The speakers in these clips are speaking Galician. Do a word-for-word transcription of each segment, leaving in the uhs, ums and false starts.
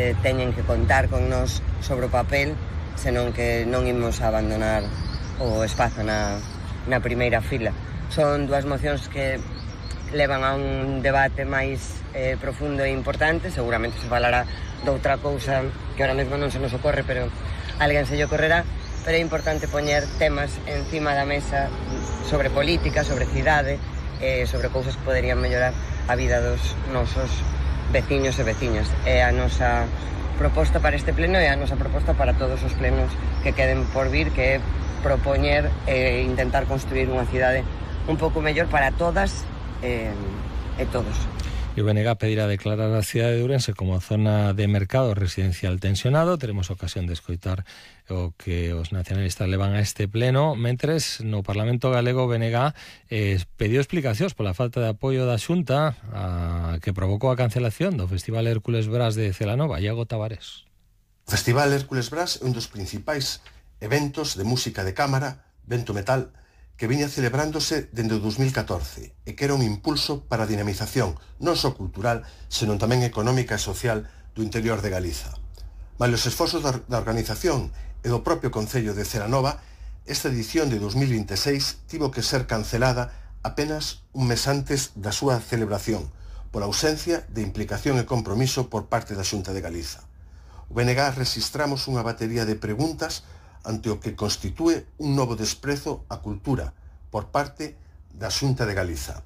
solamente teñen que contar con nós sobre o papel, senón que non imos a abandonar o espazo na, na primeira fila. Son dúas mocións que levan a un debate máis eh, profundo e importante. Seguramente se falará doutra cousa que ahora mesmo non se nos ocorre, pero alguén se lle ocorrerá. Pero é importante poñer temas encima da mesa sobre política, sobre cidade, eh, sobre cousas que poderían mellorar a vida dos nosos veciños e veciñas. É a nosa proposta para este pleno e a nosa proposta para todos os plenos que queden por vir, que é propoñer e eh, intentar construir unha cidade un pouco mellor para todas eh, e todos. E o B N G pedirá declarar a cidade de Ourense como zona de mercado residencial tensionado. Teremos ocasión de escoitar o que os nacionalistas levan a este pleno, mentres no Parlamento Galego o B N G eh, pediu explicacións pola falta de apoio da Xunta a, que provocou a cancelación do Festival Hércules Brás de Celanova. Iago Tavares. O Festival Hércules Brás é un dos principais eventos de música de cámara, vento metal, que viña celebrándose dende o dos mil catorce e que era un impulso para a dinamización non só cultural, senón tamén económica e social do interior de Galiza. Malia os esforzos da organización e do propio Concello de Celanova, esta edición de dos mil vinte e seis tivo que ser cancelada apenas un mes antes da súa celebración, pola ausencia de implicación e compromiso por parte da Xunta de Galiza. O B N G rexistramos unha batería de preguntas ante o que constitúe un novo desprezo á cultura por parte da Xunta de Galiza.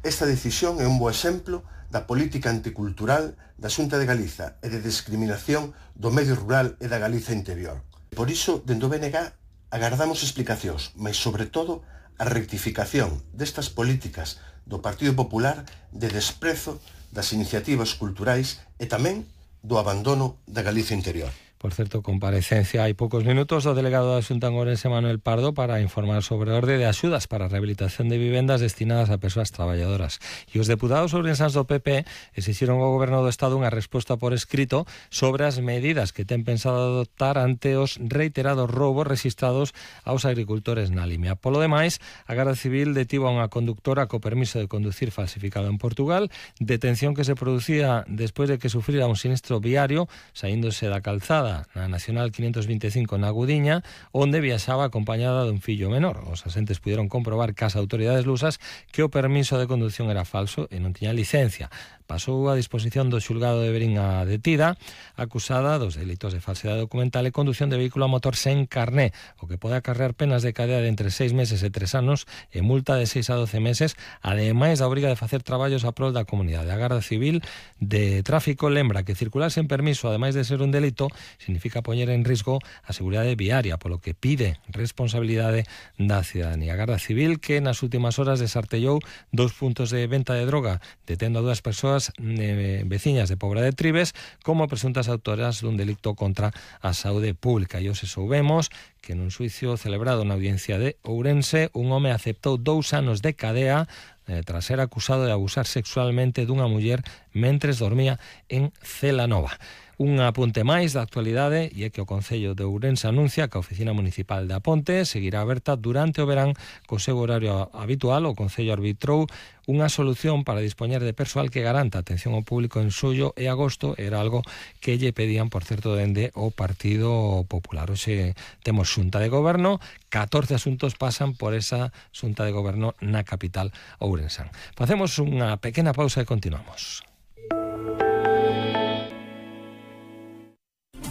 Esta decisión é un bo exemplo da política anticultural da Xunta de Galiza e de discriminación do medio rural e da Galiza interior. Por iso, dende o B N G, agardamos explicacións, mas sobre todo a rectificación destas políticas do Partido Popular de desprezo das iniciativas culturais e tamén do abandono da Galiza interior. Por certo, comparecencia hai poucos minutos do delegado da Xunta en Ourense, Manuel Pardo, para informar sobre a orde de axudas para a rehabilitación de vivendas destinadas a persoas traballadoras. E os deputados ourensans do P P exixiron ao Goberno do Estado unha resposta por escrito sobre as medidas que ten pensado adoptar ante os reiterados roubos registrados aos agricultores na Limia. Polo demais, a Garda Civil detivo a unha conductora co permiso de conducir falsificado en Portugal, detención que se producía despois de que sufrira un sinistro viario saíndose da calzada na Nacional quinhentos vinte e cinco na Gudiña, onde viaxaba acompañada dun fillo menor. Os asentes puderon comprobar que as autoridades lusas que o permiso de conducción era falso e non tiña licencia. Pasou a disposición do xulgado de Verín a detida, acusada dos delitos de falsedade documental e condución de vehículo a motor sen carné, o que pode acarrear penas de cadea de entre seis meses e tres anos e multa de seis a doce meses, ademais da obriga de facer traballos a prol da comunidade. A Garda Civil de Tráfico lembra que circular sen permiso, ademais de ser un delito, significa poñer en risco a seguridade viaria, polo que pide responsabilidade da cidadanía. A Garda Civil, que nas últimas horas desartellou dos puntos de venta de droga, detendo a dúas persoas eh, veciñas de Pobra de Tribes como presuntas autoras dun delicto contra a saúde pública. E hoxe soubemos que nun xuicio celebrado na audiencia de Ourense, un home aceptou dous anos de cadea eh, tras ser acusado de abusar sexualmente dunha muller mentres dormía en Celanova. Un apunte máis da actualidade e é que o Concello de Ourense anuncia que a Oficina Municipal de Aponte seguirá aberta durante o verán co seu horario habitual. O Concello arbitrou unha solución para dispoñer de persoal que garanta atención ao público en xullo e agosto. Era algo que lle pedían, por certo, dende o Partido Popular. Hoxe temos Xunta de Goberno, catorce asuntos pasan por esa Xunta de Goberno na capital ourensán. Facemos unha pequena pausa e continuamos.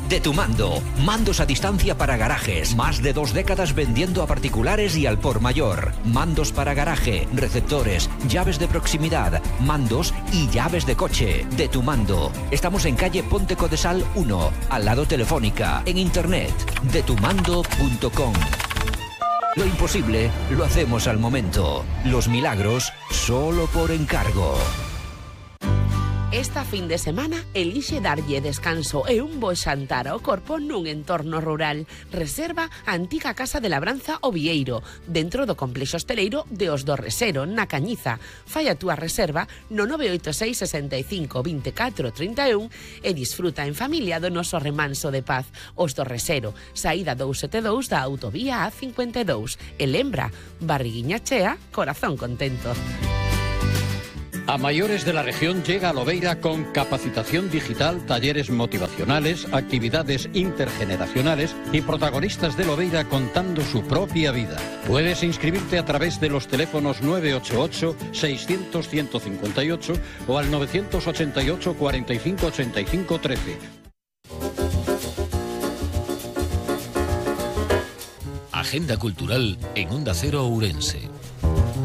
De tu mando, mandos a distancia para garajes, más de dos décadas vendiendo a particulares y al por mayor, mandos para garaje, receptores, llaves de proximidad, mandos y llaves de coche. De tu mando, estamos en calle Ponte Codesal uno, al lado Telefónica, en internet, de tu mando punto com. Lo imposible lo hacemos al momento, los milagros solo por encargo. Esta fin de semana elixe darlle descanso e un bo xantar ao corpo nun entorno rural. Reserva a antiga Casa de Labranza O Vieiro, dentro do complexo hosteleiro de Os do Resero, na Cañiza. Fai a túa reserva no nove oito seis, sesenta e cinco, veinticuatro, treinta e un e disfruta en familia do noso remanso de paz. Os do Resero, saída doscientos setenta e dous da autovía A cincuenta e dous. E lembra, barriguiña chea, corazón contento. A mayores de la región llega a Lobeira con capacitación digital, talleres motivacionales, actividades intergeneracionales y protagonistas de Lobeira contando su propia vida. Puedes inscribirte a través de los teléfonos nueve ocho ocho, seiscientos, ciento cincuenta y ocho o al novecientos ochenta y ocho, cuarenta y cinco, ochenta y cinco, trece. Agenda cultural en Onda Cero Ourense.